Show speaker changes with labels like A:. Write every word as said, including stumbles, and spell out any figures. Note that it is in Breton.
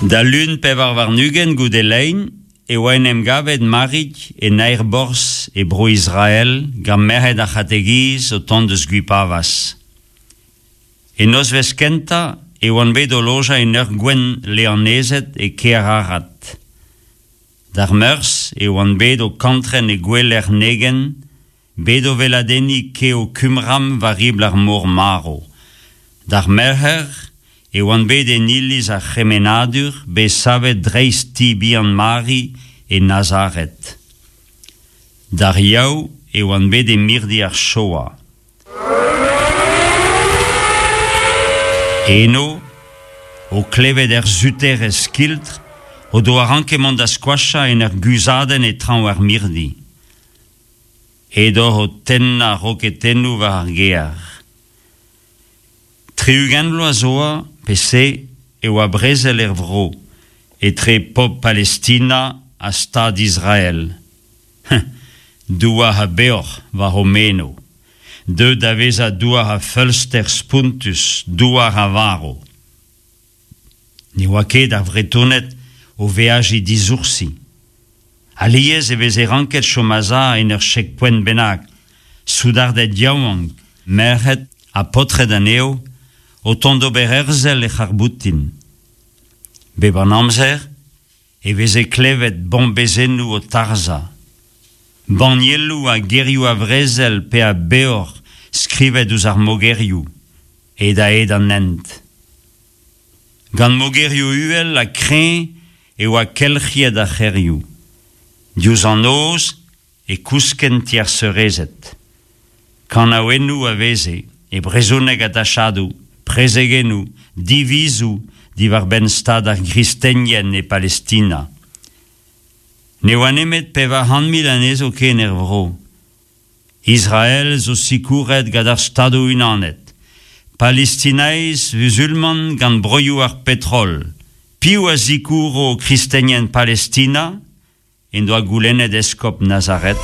A: Da lun pevar warn-ugent goude lein e oa en em gavet Marig en aerborzh e Bro-Israel gant merc'hed ar c'hategiz o tont eus Gwipavaz. E nozvezh kentañ e oant bet o lojañ en ur gouent leanezed e kêr Arad. D'ar Meurzh e oant bet o kantren e gouelec'h Negev, bet o weladenniñ kev Qumram war ribl ar Mor Marv. D'ar Merc'her e oant bet en iliz ar C'hemennadur bet savet dreist ti bihan Mari e Nazaret. D'ar Yaou e oant bet e mirdi ar Shoah. Eno, o klevet er suterezh skiltr, o doa ranket mont da skoachañ en ur guzhadenn e traoñ ar mirdi. Edoc'h o tennañ roketennoù war ar gêr. Tri-ugent vloaz zo oa, pe se, e oa brezel er vro, etre pobl Palestina ha Stad Israel. Douar a beoc'h war o meno. Deuet da vezañ douar a feulster spontus, douar a varv. Ne oa ket ar Vretoned o veajiñ disoursi. Alies e veze ranket chom a-sav en ur checkpoint bennak, soudarded yaouank, merc'hed ha paotred anezho, o tont d'ober herzel er c'harr-boutin. Bep an amzer e veze klevet bombezennoù o tarzhañ. Bannieloù ha gerioù a vrezel pe a beoc'h skrivet ouzh ar mogerioù, hed-ha-hed an hent. Gant mogerioù uhel ha kreñv e oa kelc'hiet ar c'hêrioù. Diouzh an noz e kouskent ti ar seurezed. Kanaouennoù a veze, e brezhoneg a-dachadoù, prezegennoù, divizoù diwar-benn stad ar gristenien e Palestina. Ne oa nemet pevar c'hant mil anezho ken er vro. Israel zo sikouret gant ar Stadoù-Unanet. Palestinaiz muzulman gant broioù ar petrol. Piv a sikouro kristenien Palestina? En doa goulennet eskob Nazaret.